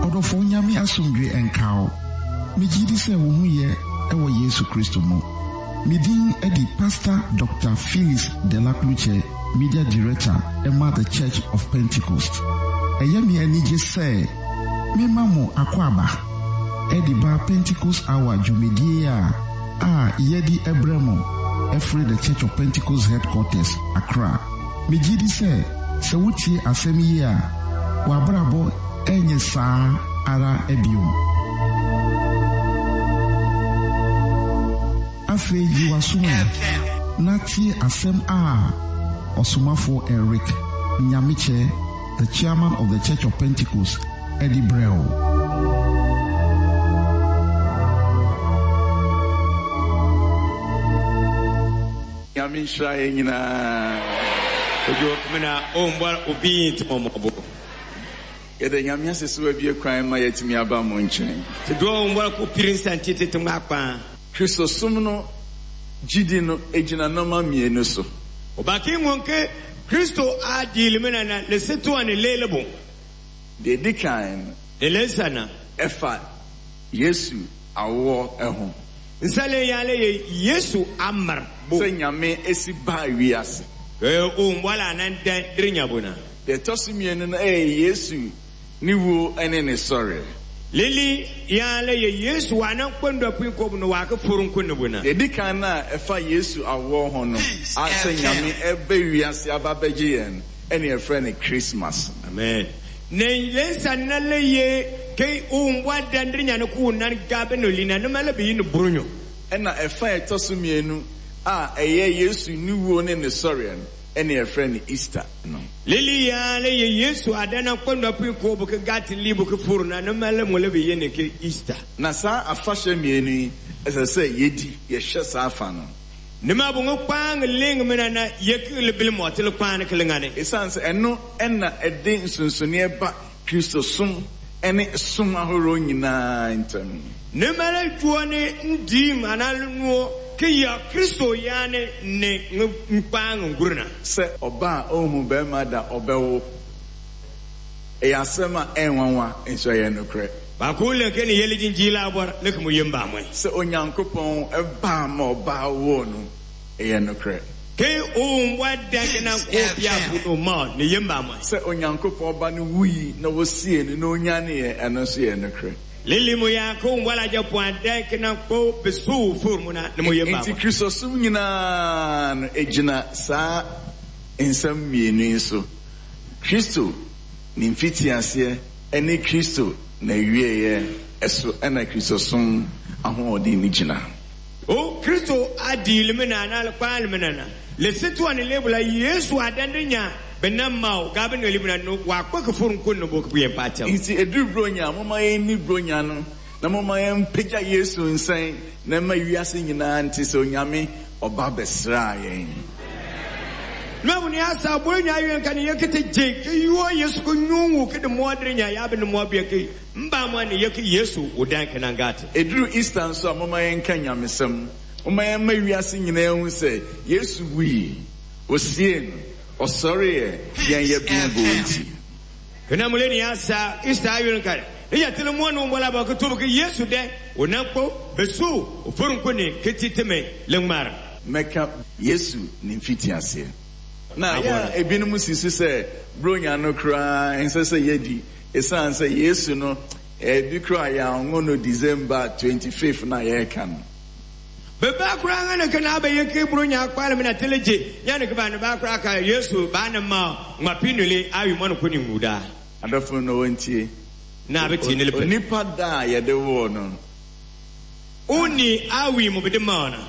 Ɔdɔfo Nyame asomdwe nka wo. Megye di sɛ wo ho yɛ wɔ Yesu Kristo mu. Me din de Pastor Dr. Phyllis Dela-Klutse, Media Director ma The Church of Pentecost. Ɛyɛ me anigye sɛ mema mo akwaaba de ba Pentecost Hour dwumadie a a yɛde brɛ mo firi The Church of Pentecost Headquarters, Accra. Megye di sɛ sɛ wotie asɛm yi a, w'abrabɔ renyɛ saa ara bio. Afei yi w'aso ɛ na tie asɛm a Ɔsomafoɔ Eric Nyamekye, the Chairman of the Church of Pentecost, de brɛ wo. Nyame nhyira yɛn nyinaa. Kojo mena ombɔ obi ntmɔmɔbo. Yɛda Nyame ase sɛ wabue kwan ma yɛatumi aba mo nkyɛn. Te doɔ ombɔ ko piri nsa nti tete ŋma kpaa. Kristosom no gyidi no gyina nnoɔma mmienu so. Obaki ŋɔnke Kristo a diili mena na lesetoa ne lelebo. Deɛ ɛdi kan no. Ne lensa na. Ɛfa Yesu awoɔ ho. Nsale yale ye Yesu amar bo. Sɛ Nyame si baa wiase. Ke o mbɔla nan dɛn diri nya bo na. Deɛ ɛtɔ so mmienu no ɛyɛ Yesu ne wuo ne ne sɔreɛ. Lili yale ye Yesu wa nan kpɔndɔ pui kɔbu no wa ke furu nko ne bo na. Deɛ ɛdi kan no a ɛfa Yesu awoɔ ho no, a sɛ Nyame ɛba wiase aba abɛgye yɛn no, ɛna yɛfrɛ no Christmas. Amen. Ne lensa na le ye ke o mbwa dandiri nya ne ku nan gabe no lina ne mele bi no brunyo. Ɛna ɛfa a ɛtɔ so mmienu a ɛyɛ Yesu ne wuo ne ne sɔreɛ no, ɛna yɛfrɛ no Easter no. Lili ya le ye Yesu adana kpɔndɔ pui ko bu ke gati li bu ke furu na ne mele mo le bi ye ne ke Easter. Na saa afahyɛ mmienu yi, ɛsɛ sɛ yɛdi, yɛhyɛ saa fa no. Ne ma bu ŋa kpaŋ leŋ mena na ye ke le bil mɔ te le kpaŋ ke le ŋa ne. Esiane sɛ ɛno na ɛde nsonsonoeɛ ba Kristosom ne som ahoroɔ nyinaa ntam. Ne ma le dwoɔ ne ndiim anaa le nuɔ ke ya Kristo ya ne ne ŋa kpaŋ ngurina. Sɛ ɔbaa a ɔnhu barima da ɔbɛwo. Ɛyɛ asɛm a ɛnwanwa, nso ɛyɛ nokorɛ. Baako le ke ne yeli jinjila abɔr le ke mo yem ba moe. Sɛ Onyankopɔn baa ma ɔbaa woo no, ɛyɛ nokorɛ. Ke o mbwa dɛn ke nan ko pia fu no ma ne yem ba moe. Sɛ Onyankopɔn Ba no wui na wɔsiee no na ɔnyaneeɛ, ɛno nso yɛ nokorɛ. Lili mo ya ke o mbwa la jɛ puan dɛn ke nan ko be su fur mo na ne mo yem ba Enti moe. Kristosom nyinaa no, ɛgyina saa nsɛm mmienu yi so, Kristo ne mfitiaseɛ ne Kristo n'awieeɛ so na Kristosom ahoɔden no gyina. O Kristo adi limina na kpa limina na le setuwa ne lebula Yesu adande nya bena mao gabe ne limina no wa kpa ke furu nko no bo ke pa kyɛw. Nti ɛduru Buronya a, momma yɛnni Buronya no, na momma yɛmpagya Yesu nsɛn, na ɛmma wiase nyinaa nte sɛ Onyame Ɔba bɛsraa yɛn. Na mu ni asa Buronya awie nka ne yɛkete gye ke yuo Yesu ko nyungu ke de moadere nya yabe ne moabea ke mba mo ne yɛke Yesu odan ke nangate. Ɛduru Easter nso a, momma yɛnka nyamesɛm. Momma yɛmma wiase nyinaa nhu sɛ Yesu wui, wɔsiee no, ɔsɔreeɛ yɛn yɛbem nti. Kena mule ni asa Easter awie nka ne yɛtele mo no mbola ba ke tobo ke Yesu dɛ onankpo besu ofurunku ne ketiteme le ŋmara. Mɛka Yesu ne mfitiaseɛ. Na yɛ a ebinom si so sɛ Buronya no koraa ɛnsɛ sɛ yɛdi esiane sɛ Yesu no ebi koraa yɛanwo no December 25th no a yɛreka no. Beba koraa nga ne ke na abɛyɛ ke Buronya akpale me na tele gye nya ne ke ba ne ba koraa ka Yesu ba ne ma ŋma pinuli awi mɔno ko ne ŋu daa. Adɔfo no wɔntie. Na abɛtie ne lepɛ. Onipa da a yɛde woo no. Onni awi mo bede ma ɔna.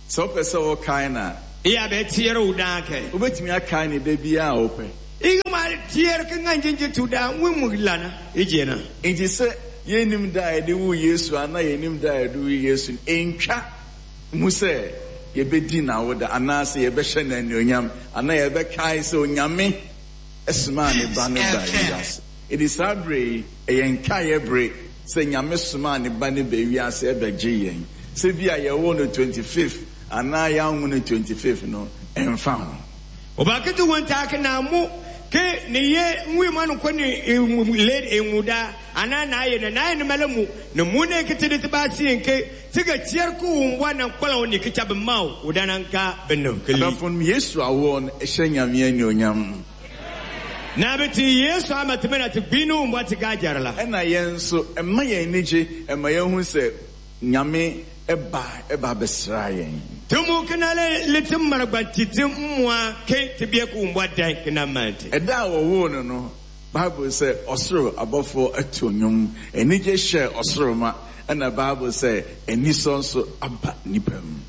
Sɛ wopɛ sɛ wokae no a. Iya bɛ tiɛrɛ o daa kɛ. Wobɛtumi akae no da biara a wopɛ. Iga ma tiɛrɛ ke ŋa ngyengye tu daa ŋwe mu lana igyɛ na. Enti sɛ yɛnnim da a yɛde woo Yesu anaa yɛnim da a yɛde woo Yesu no, ɛntwa mu sɛ yɛbɛdi n'awoda anaasɛ yɛbɛhyɛ no anuonyam anaa yɛbɛkae sɛ Onyame somaa ne Ba no baa wiase. Enti saa berɛ yi, ɛyɛ nkaeɛ bere sɛ Nyame somaa ne Ba no baa wiase bɛgyee yɛn. Sɛ bi a yɛwoo no 25th anaa yɛanwo no 25th no, ɛmfa ho. Obakete won taake na mo. Ke ne ye ŋwi ma no ko ne le ŋuda ana na ye na na ye ne mala mu ne mu ne ke te ba si nke ti ka tier ku wa na kwala ni ke chabe ma o da na nka beno ke li. Adɔfo no, Yesu awoɔ no ɛhyɛ Nyame anuonyam. Na beti Yesu amateme na te gbinu mbɔ te ga jarla. Ɛna yɛn nso ɛma yɛn ani gye, ɛma yɛn hu sɛ Nyame ɛba ɛba abɛsra yɛn. Tumu kena le liti maragba titi mmoa ke te bia ku mbɔ dan kena mante. Ɛda a wɔwoo no, Bible sɛ ɔsoro abɔfoɔ ato nnwom, anigye hyɛ ɔsoro ma, ɛna Bible sɛ anisɔ nso aba nnipa mu.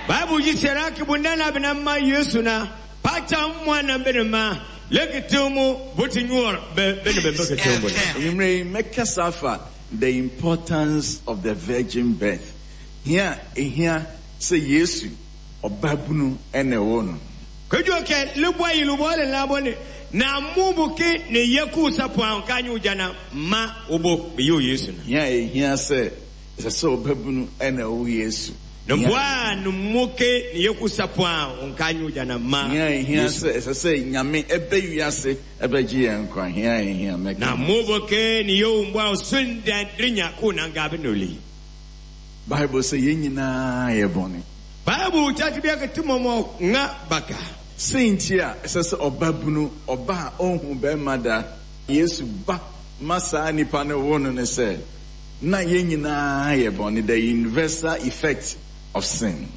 Bible yi sɛra ke bunda na bena ma Yesu na pacha mmoa na bene ma leke mu buti nyuor be bene be beke te mu. Enyimire yi mɛkasa afa the importance of the virgin birth. Hia ehia sɛ Yesu ɔbabunu ɛna ɛwɔ no. Kejo ke libwa yilubo le labo ne na mubu ke ne yeku sapon ka nyu jana ma obo be yo Yesu na. Hia ehia sɛ ɛsɛ sɛ ɔbabunu ɛna ɛwɔ Yesu. Ne bwa no muke ne yeku sapon ka nyu jana ma. Hia ehia sɛ ɛsɛ sɛ Nyame ɛbɛ wiase ɛbɛgye yɛn nkwa. Hia ehia mɛka. Na mubu ke ne yo mbwa sunda drinya ku na ngabe noli. Bible sɛ yɛn nyinaa yɛ bɔne. Bible kyakye bi akete mɔmɔ nga baka. Sɛ nti a ɛsɛ sɛ ɔbabunu ɔba a ɔnhu bɛrima da Yesu ba ma saa nipa no wo no ne sɛ na yɛn nyinaa yɛ bɔne, the universal effect of sin.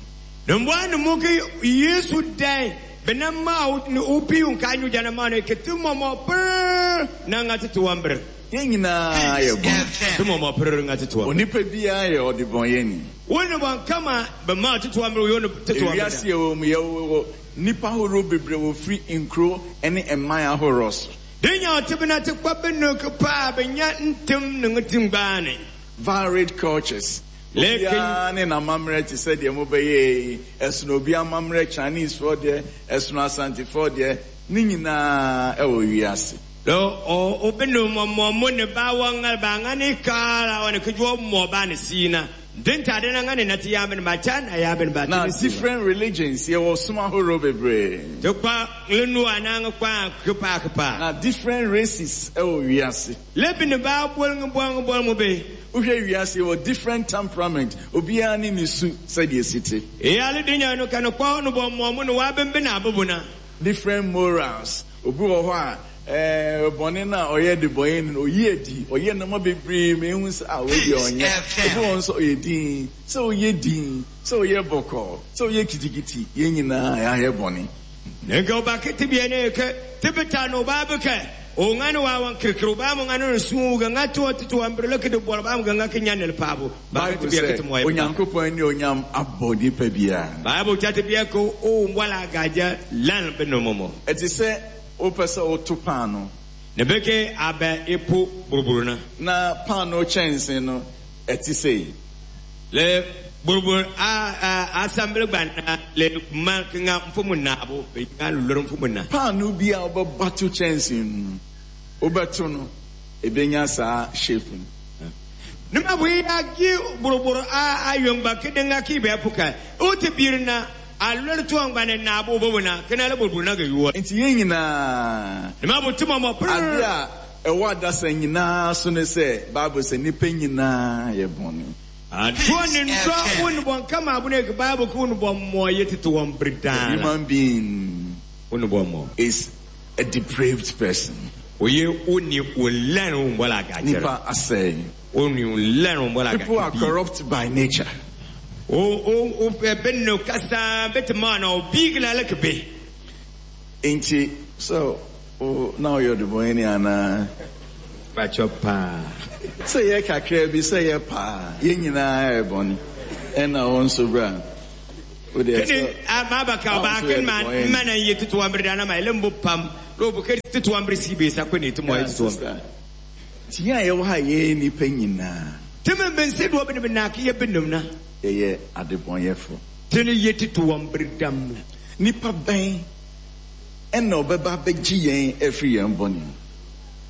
Ne mbwa ne mu ke Yesu dan bena ma ne obi nka nyu jana ma ne kete mɔmɔ per na nga tete wambre. Yɛn nyinaa yɛ bɔne. Te mɔmɔ per nga tete wambre. Onipa biara yɛ ɔdebɔnyɛni. Wone bɔn kama bɛ ma tete wambre yo ne tete wambre. Ewiase yɛ wɔ mu yɛ wɔ nipa ahorow bebree wɔ firi nkuro ne mman ahorow so. Denya ɔtebena te kwa benu ke pa benya ntem ne ntim gbaane. Varied cultures. Lekin- Obiara ne n'amammerɛ te sɛ deɛ mobɛyɛ yi, ɛsono obi amammerɛ, Chinese foɔ deɛ, ɛsono Asantefoɔ deɛ, ne nyinaa ɛwɔ wiase. Lo o obenu mɔmɔ mo ne ba wa nga ba nga ni kala wa ne kujwo mo ba ne sina. Dinta de na nga ne nati ya ben ba cha na ya ben ba Na ti si. different religions, yɛwɔ som ahorow bebree. Te kwa lenu ananga kwa kupa kupa. Na different races ɛwɔ wiase. Lebi ne ba bol ng bol ng bol mo be. Wohwɛ wiase yɛwɔ different temperament, obiara ne ne su sɛdeɛ esi te. E ale dinya no kan kwa no bo mo mo no wa ben ben abobona. Different morals. Obi wɔ hɔ a bɔne na ɔyɛ de bɔne no oyi adi, ɔyɛ nneɛma bebree ma ehu sɛ a wei deɛ ɔnyɛ. Obi wɔ hɔ nso ɔyɛ din, sɛ ɔyɛ din, sɛ ɔyɛ bɔkɔɔ, sɛ ɔyɛ kitikiti, yɛn nyinaa yɛayɛ bɔne. Ne ga ba kiti bi ne ke tibita no ba be ke o nga no wa wan kirkiro ba mo nga no su ga nga to to to ambre le ke de bol ba mo ga nga ke nya ne pa bo. Ba Bible kiti bi sɛ ke mo ye. Onyankopɔn ne onyam abɔ nipa biara. Bible chati bi ko o mbwala gaja lan be no momo. Ɛte sɛ wopɛ sɛ woto paano. Ne beke abɛ epo buruburu na. Na paano kyɛnse no ɛte sɛ yi. Le buruburu a assemble gba na le ma nga mfumu na abo be nga loro mfumu na. Paano bi a wobɛba to kyɛnse no, wobɛto no, ebenya saa shape no. Ne ma bu ya gi buruburu a ayongba ke de nga ki be puka. O te bir na a loro to ngba ne na abo bobo na ke na le buruburu na ga yuwa. Nti yɛn nyinaa Ne ma bu timo mo ade prr. a ɛwɔ adasa nyinaa so ne sɛ Bible sɛ nnipa nyinaa yɛ bɔne. To ne ndo won bon kama abu ne ke Bible ko won bon mo yetete won A bridana. human being Won bon mo. is a depraved person. Oye oni o lẹnu bọla gajẹrẹ. Nipa asɛe. Oni o lẹnu bọla People are gajẹrẹ. corrupt by nature. O o o bɛ no kasa bɛ te maa na o bi gila le kebe. Nti so o na ɔyɛ ɔdebɔnni anaa? Bàtchɔ paa. Sɛ yɛ kakra bi, sɛ yɛ paa, yɛn nyinaa yɛ bɔne. Ɛna wɔn nso bra. O deɛ Kini sɛ a maa ba ka o ba Ɔn so kini yɛ ma debɔnni. mma na ye tutu wambiri dana ma ele mbo pam. N'o bo kiri tutu wambiri si be sa ko ne ti mɔ ye tutu wambiri. Sister, nti yɛn a yɛwɔ ha yɛyɛ nnipa nyinaa Tɛmɛ bɛ nse dɔ bɛ ne bɛ na k'i ye bɛ num na. yɛyɛ adebɔnyɛfo. Tɛni ye tutu wambiri dam. Nipa bɛn ɛna ɔbɛba abɛgye yɛn afiri yɛn bɔne mu.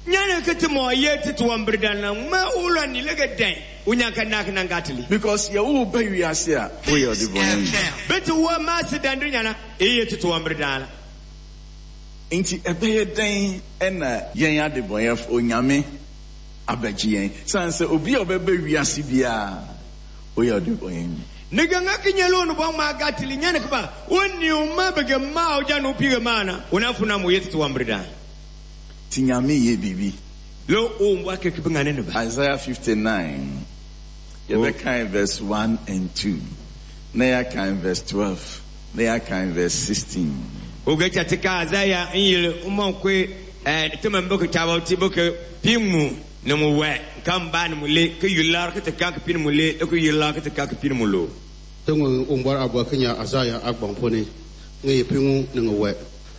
Nyane kete mɔ ye tutu wambiri dana ma wula ni lege dɛn. O nya ka na kana ngatili. Because yɛwo ba wiase a woyɛ ɔdebɔnyɛni. Bete wo ma se dandiri nyana e ye tutu wambiri dana. Nti ɛbɛyɛ dɛn ɛna yɛn adebɔnyɛfo Onyame abɛgye yɛn? Sane sɛ obi a ɔbɛba wiase biara ɔyɛ ɔdebɔnyɛni. Ne ganga ki nyɛla o ni bɔ ŋmaa gatili nyani ki ba o ni o ma bɛ ge maa o ja ni o piige maa na o na funa mo yeti ti wambiri daa. Nti Nyame yɛ biribi. Le o mbɔ akeke bi ŋane ne ba. Isaiah 59, yɛbɛkan verse 1 and 2, na yɛakan verse 12, na yɛakan verse 16. O ge cha ti ka Isaiah n yeli n mɔn koe ti min bi ki chaba ti bi ki pi ŋmu ni mu wɛ ka n ba ni mu le ki yular ki ti ka ki pi ni mu le ki yular ki ti ka ki pi ni mu lo. Ti ŋun Uwumbɔr abua ki nya Azaya agbɔŋ puuni ŋa yi piŋu ni ŋa wɛ.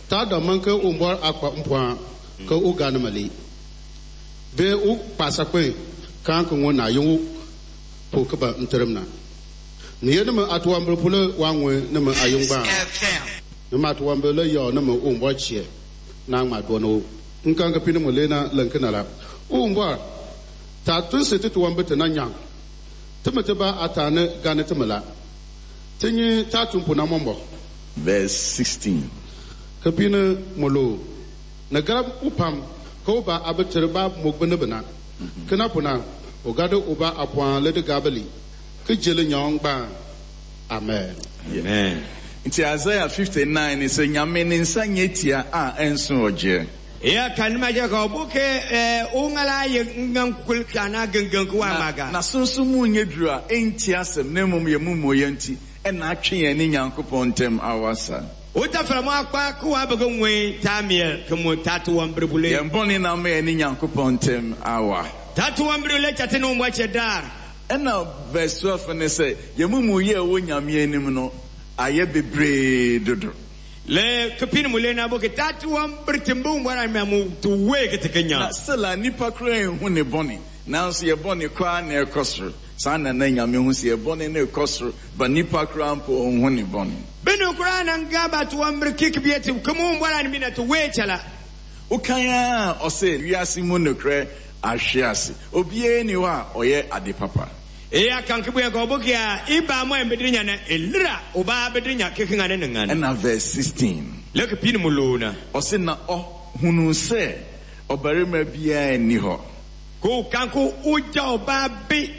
Ta dɔmman ka Uwumbɔr akpa m-pɔŋ ka o gani ma li bee o kpaasa kpɛn kaan ka ŋɔ na yiŋ po ka ba n-tirim na. Ni ye ni mi atuwambili puli waa ŋɔ ni mi a yiŋgbaa ni mi atuwambili la yɔɔ ni mi Uwumbɔr chiɛ na ŋma dɔni o n kan ka pini mu le na lɛnki na la. Uwumbɔr ta tunsi ti tuwambi ti na nyaŋ ti mi ti ba a taani gani ti mi la. Ti nyi ta tumpu na mɔmbɔ. Verse 16. Ka pini mu lo ni garab u pam ka o ba a bi tiri ba mugbi ni bi na. Kina puna o gadi o ba a pɔŋ li di gabili ki jeli nyɔŋ gbaa. Amen. Amen. Nti Isaiah 59 ni sɛ Nyame ne nsa nyɛ tia a ɛnso ɔgyeɛ. Ya kan ma ja ka bu ke o ŋala ye ngan kul kana gengen ku wa maga. Na sunsun mu nyɛ duru a ɛnti asɛm na mmom yɛ mu mmɔ nti ɛna atwe yɛn ne Nyankopɔn ntam awasa. O ta fara mo akpa ku wa bɛ ŋwe ta miel ke mo ta to wan brebule. Yɛn bɔne na ama yɛn ne Nyankopɔn ntam awa. Ta to wan brebule chate no mbɔ che dar. Ɛna verse 12 ne sɛ yɛn mu mu yɛ ɛwɔ Nyame anim no ayɛ bebree dodo. Le kepin mu le na bo ke ta to wan bretimbu mbɔ na mu to we ke te kenya. Na still a nipa koraa nhu ne bɔne nanso yɛ bɔne koraa na ɛkɔ soro. Saa na na Nyame hu sɛ yɛ bɔne na ɛkɔ soro ba nipa koraa mpo ɔnhu ne bɔne. Benu koraa na nga ba to wan bre kik bi eti ke mu mbɔ na mi na to we chala. Wokan a ɔsɛ wiase mu nokorɛ ahwe ase. Obiara ni hɔ a ɔyɛ ade papa. E ya kan ke bu ya ko bo ke a iba mo embediri nya na elira o ba bediri nya ke ngane ne ngane. Ɛna verse 16. Le kepin mu lo na. Ɔsɛ na ɔhunu sɛ ɔbarima biara nni hɔ. Ko kan ko uja o ba bi.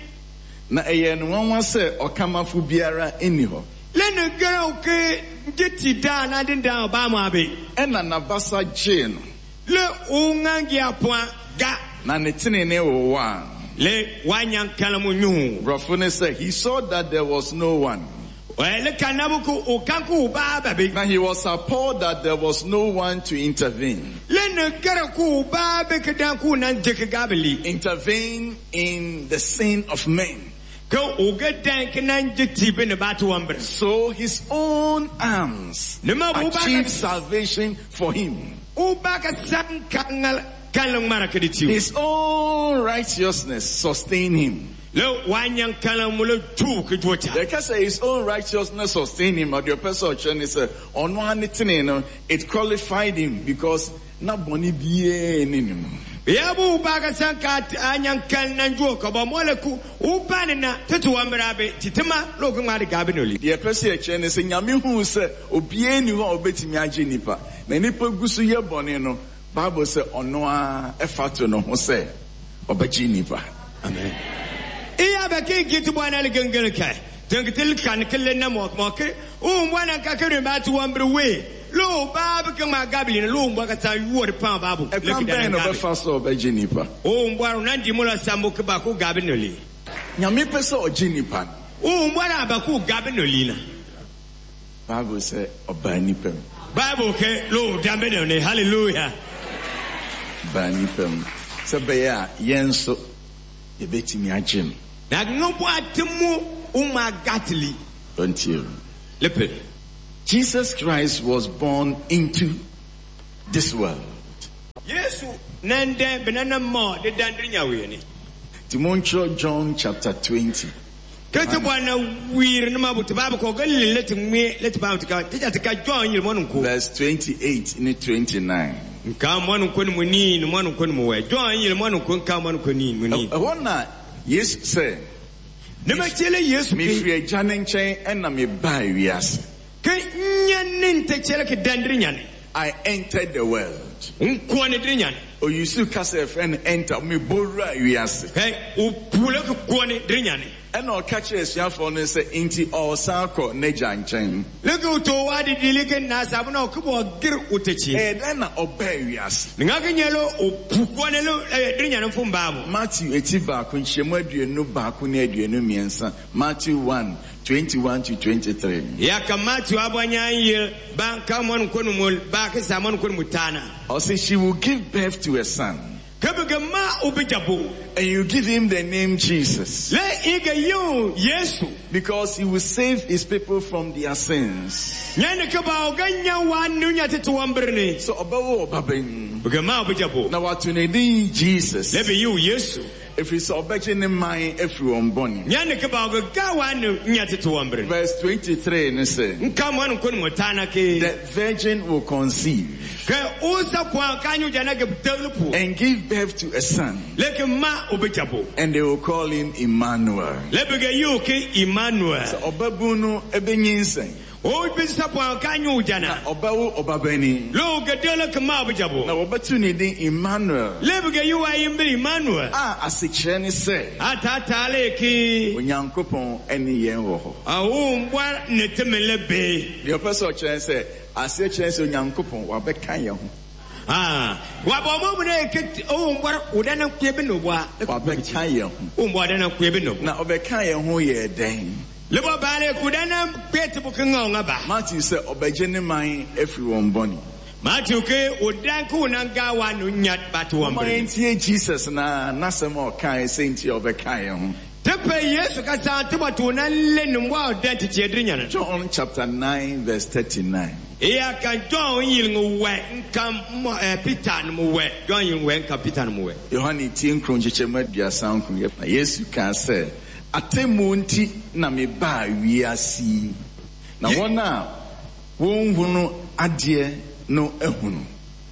Na ɛyɛ no nwanwa sɛ ɔkamafo biara nni hɔ. Le ne gara o ke jeti da na din da o ba mo abe. Ɛna n'abasa gyee no. Le o ngangi apoa ga. Na ne tenene wowɔ a. Le wanyan kalamu nyu. Borɔfo ne sɛ he saw that there was no one. Le kanabu ko o kan ko ba ba bi. Now he was appalled that there was no one to intervene. Le ne gara ko ba be ke dan ko nan de ke gabeli. Intervene in the sin of men. Ko o ga dan ke nan jeti be ne ba to wambre. So his own arms Ne ma bu ba achieved salvation for him. O ba ka san kangal kalang mara ke di. His own righteousness sustained him. Le wanyan kalang mu le tu ke jota. The case his own righteousness sustained him, but the person sɛ ɔno ara ne tene no, it qualified him because na bɔne biara nni ne mu. Ya bu ba ka san ka anyan kan nan jo ka ba mo le ku u ba ne na tetu wambra be titima lo ko ngade gabe no li. Deɛ ɛpɛ sɛ yɛkyerɛ ne sɛ Nyame huu sɛ obiara nni hɔ a obetumi agye nipa. Na nipa gu so yɛ bɔne no, Bible sɛ ɔno ara ɛfa to ne ho sɛ ɔbɛgye nipa. Amen. Iya ba ke giti bo na le gengel ka. Tengitil kan kele na mo mo ke u mo na ka ke ba tu wambre we. Lo ba be ke ma gabe ni lo mbo ka sa yuor pa babu. Ɛkwan bɛn na ɔbɛfa so a ɔbɛgye nipa? O mbo na ndi mo la sambo ke ba ko gabe no li. Nyame pɛ sɛ ɔgye nipa no. O mbo na ba ko gabe no li na. Bible sɛ ɔbaa nipa mu. Bible ke lo dambe no ne hallelujah. Baa nipa mu. Sɛ bɛyɛ a yɛn nso yɛbɛtumi agye no. Na ngobo atemu uma gatli. Ɔntie o. Lepe. Jesus Christ was born into this world. Yesu nende benana mo de dandri nyawe ni. Nti montwerɛ John chapter 20. Kete bwana wir ne mabuti babu ko galle leti ngwe leti babu ka tija tika John yil monun ko. Verse 28 ne 29. Nka monun ko ni muni ni monun ko ni mo we. John yil monun ko nka monun ko ni muni. Ɛhɔ na Yesu sɛ Ne ma chele Yesu ke mefiri agya ne nkyɛn ɛna mebaa wiase. Ke nya ne nte chele ke dandri nya ne. I entered the world. N kɔɔne diri nyane. Oyusu kasa yɛfrɛ no enter, mebɔwura wiase. Hɛ o pule ke kɔɔne diri nyane. Ɛna ɔka kyerɛ asuafoɔ no sɛ nti ɔresan akɔ n'agya nkyɛn. Leke o to wa di dili ke na sabu na o ke bɔ gir o te kyi. Ɛyɛ dɛn na ɔbaa wiase? Nga ke nyɛ lo o pu kɔɔne lo diri nyane fo mbaabu. Matthew eti 1 nkyɛmu 21 ne 23, Matthew 1, 21 to 23. Ya ka Matthew abɔ nyan yel ba ka mɔn kɔnu mu ba ke sa mɔn kɔnu mu taana. Ɔse she will give birth to a son. Ke bi ke ma o bi jabo. And you give him the name Jesus. Le i ke yiw Yesu. Because he will save his people from their sins. Nyane ke ba o ga nya wa nu nya tete wɔn bere ni. So ɔbɛwo ɔbabanyin. Bi ke ma o bi jabo. Na wato ne din Jesus. Le bi yiw Yesu. Ɛfiri sɛ ɔbɛgye ne man afiri wɔn bɔne. Nyane ke ba o ga wa nu nya tete wɔn bere. Verse 23 ne sɛ, Nka mɔn kɔnu mu taana ke. The virgin will conceive Ke o sa kwan ka nyu jana ke deglu pu. and give birth to a son, Le ke ma o bi jabo. and they will call him Emmanuel. Le bi ke yiw ke Emmanuel. Sɛ ɔbabun no ɛbɛnyinsɛn, O bi sa kwan ka nyu jana. ɔbɛwo ɔbabanin, Lo ke deglu ke ma o bi jabo. na wɔbɛto ne din Emmanuel, Le bi ke yiw ayi Emmanuel. a asekyerɛ ne sɛ Ata taale ke. Onyankopɔn ɛne yɛn wɔ hɔ. Awo mbɔ ne teme le be. Deɛ ɔpɛ sɛ ɔkyerɛ sɛ aseɛ kyerɛ sɛ Onyankopɔn wabɛka yɛn ho. Ah, wa bɔ mo mu ne ke o mbɔ o da na kue bi no bɔ. Wabɛka yɛn ho. O mbɔ da na kue bi no. Na ɔbɛka yɛn ho yɛ dɛn? Le bɔ baale ku da na kue te bu ke ŋa o ŋa ba. Matthew sɛ ɔbɛgye ne man afiri wɔn bɔne. Matthew ke o dan ko na ga wa no nya ba to wɔn Ɔma bere. yɛntie Jesus na n'asɛm a ɔkae sɛ nti a ɔbɛka yɛn ho. Tepe Yesu ka sa te bɔ to na le no wa o dan ti tie diri nyana. John chapter 9 verse 39. Iya ka John yil ŋu wɛ nka mo Peter no mu wɛ. John yil wɛ nka Peter no mu wɛ. Yohane tie nkron nkyekyɛmu 39. Na Yesu kaa sɛ, atemmuo nti na mebaa wiase yi. Na wɔn a wɔnhunu adeɛ no ahunu.